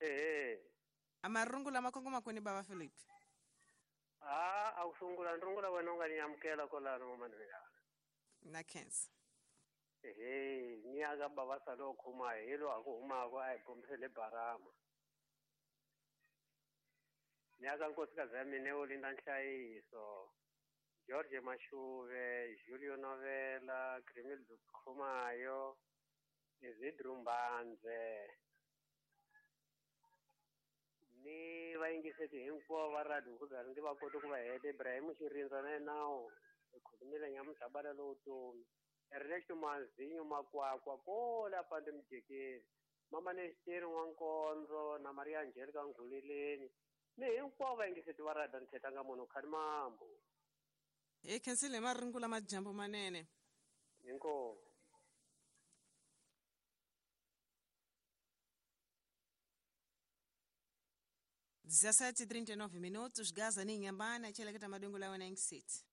Ehe. A marungu lama kongoma kwini bava Philip? A a ku sungula ni rungula wena u nga ni amukela kwalano mamanivekana. Na khensa. Ehe, ni ya ka bava salo khuma hi lo a ku humako a hi bombisele barama. Ni ya ka nkosikazi ya mina wo linda nhlayiso. George Mashuve, Julio Novela, Grimil Khumayo, Isidro Mbandze. Ni vayingiseti hinkwavo va radio ku za ndzi va koti ku va heta Ibrahim Xirindza na yena khulumile nyamuntlha bala lowu tomi Ernesto Mazinyo Makwakwa kola pande mujekeni mama Nesteri N'wankondzo na Maria Angelica Nghuleleni ni hinkwavo vayingiseti va radio ni thetanga munhu khani mambo. Hi khensile hi marungu lama dyambu manene. Inkomu. 17:39 minutos, Gaza ni Inhambane, cheleketa madungu la wena City.